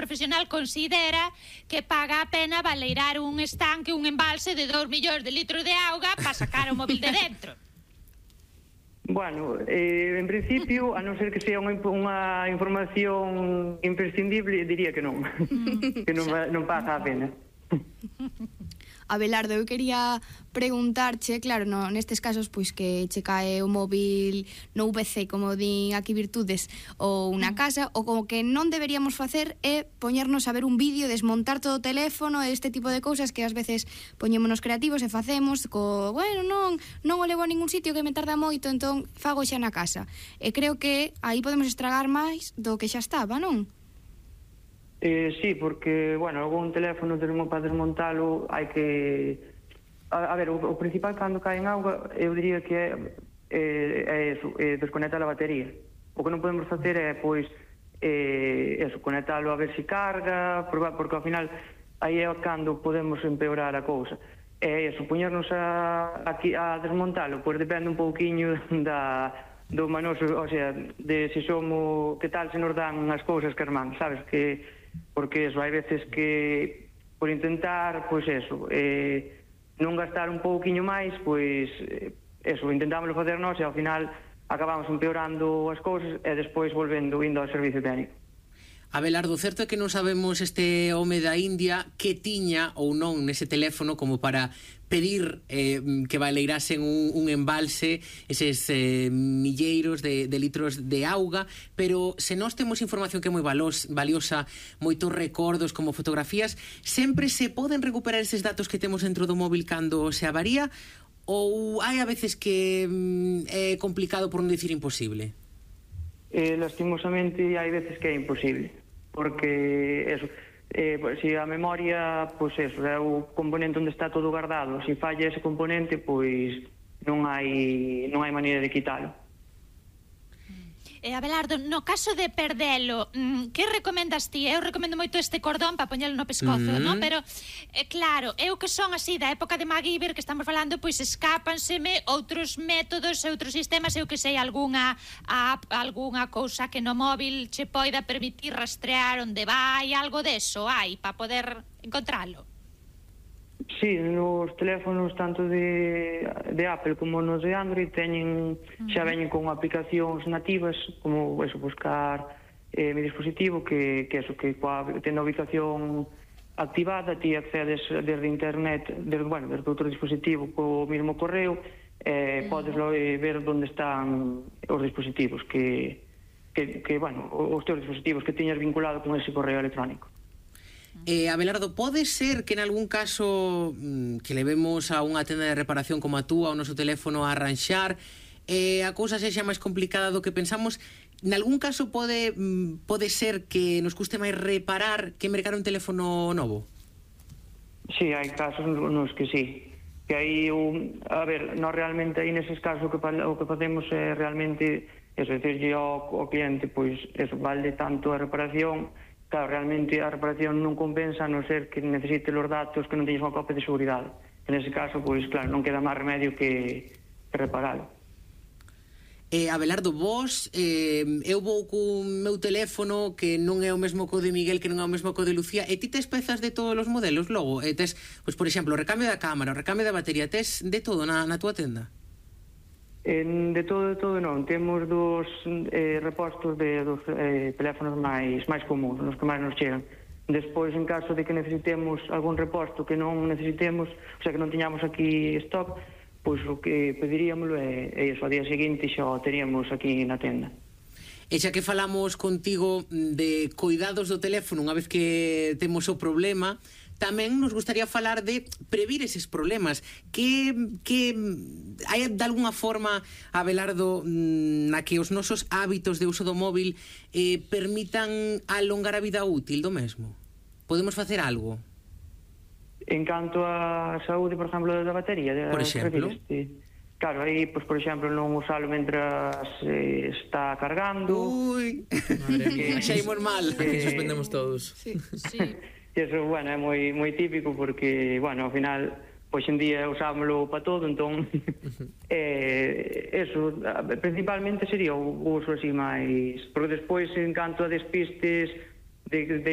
profesional considera que paga a pena baleirar un estanque, un embalse de 2 millóns de litros de auga para sacar o móvil de dentro. Bueno, en principio, a non ser que sea unha información imprescindible, diría que non. Que non paga a pena. Abelardo, eu quería preguntarche, claro, nestes casos pois que che cae o móvil no VC, como din aquí Virtudes, ou na casa, o como que non deberíamos facer é poñernos a ver un vídeo, desmontar todo o teléfono, este tipo de cousas que ás veces poñémonos creativos e facemos bueno, non o levo a ningún sitio que me tarda moito, entón fago xa na casa. E creo que aí podemos estragar máis do que xa estaba, non? Sí, porque, bueno, algún teléfono para desmontalo hai que... A ver, o principal cando cae en auga, eu diría que é desconectar a batería. O que non podemos facer é, pois, conectalo a ver se carga, porque ao final aí é cando podemos empeorar a cousa. É eso, poñernos a desmontalo, pois depende un pouquiño do manoso, o sea, de se somos, que tal se nos dan as cousas que irmán, sabes, que... Porque eso, hai veces que por intentar, pois eso, non gastar un pouquiño máis, pois eso, intentámoslo facer nós e ao final acabamos empeorando as cousas e despois volvendo indo ao servicio técnico. Abelardo, certo é que non sabemos este home da India que tiña ou non nese teléfono como para pedir que baleirasen un embalse, eses milleiros de litros de auga, pero se nós temos información que é moi valiosa, moitos recordos como fotografías, sempre se poden recuperar eses datos que temos dentro do móvil cando se avaría, ou hai a veces que é complicado por non dicir imposible? Lastimosamente hai veces que é imposible, porque eso, se a memoria, pois eso, é o componente onde está todo guardado, se falla ese componente, pois non hai maneira de quitalo. Abelardo, no caso de perdelo, que recomendas ti? Eu recomendo moito este cordón para poñelo no pescozo, non? Pero, claro, eu que son así da época de MacGyver que estamos falando, pois escápanseme outros métodos, outros sistemas, eu que sei, algunha app, algunha cousa que no móvil che poida permitir rastrear onde vai, algo deso hai, para poder encontralo. Sí, nos teléfonos tanto de Apple como nos de Android xa veñen con aplicacións nativas, como eso, buscar mi dispositivo, que tendo a ubicación activada, ti accedes desde internet, desde outro dispositivo co mesmo correo, podes ver onde están os dispositivos os teus dispositivos que tiñas vinculado con ese correo electrónico. Abelardo, pode ser que en algún caso que levemos a unha tenda de reparación como a túa o noso teléfono a arranxar, a cousa sexa máis complicada do que pensamos? En algún caso pode ser que nos custe máis reparar que mercar un teléfono novo? Sí, hai casos nos que sí. Que aí, a ver, nós realmente aí neses casos o que facemos é realmente, es decirlle ao cliente, pois, eso, vale tanto a reparación. Claro, realmente a reparación non compensa a non ser que necesite os datos que non teñes unha copia de seguridade. En ese caso, pois, claro, non queda máis remedio que reparalo. Abelardo, vos, eu vou cun meu teléfono que non é o mesmo co de Miguel, que non é o mesmo co de Lucía, e ti tes pezas de todos os modelos logo? Tes, pois, por exemplo, o recambio da cámara, o recambio da batería, tes de todo na túa tenda? De todo non. Temos dos repostos dos teléfonos máis comuns, os que máis nos chegan. Despois, en caso de que necesitemos algún reposto que non necesitemos, o sea, que non tiñamos aquí stock, pois o que pediríamoslo é iso, ao día seguinte xa o teríamos aquí na tenda. E xa que falamos contigo de cuidados do teléfono unha vez que temos o problema, tamén nos gustaría falar de previr eses problemas. Que hai de alguna forma, Abelardo, na que os nosos hábitos de uso do móvil permitan alongar a vida útil do mesmo? Podemos facer algo? En canto a saúde, por exemplo, da batería? Por exemplo? Claro, aí, pois, por exemplo, non usalo mentras está cargando. Ui, xa imos mal. Aquí suspendemos todos. Sí. Eso, bueno, é moi típico porque, bueno, ao final, pois en día usámoslo para todo, entón, eso, principalmente sería o uso así máis, porque despois, en canto a despistes, de deixalo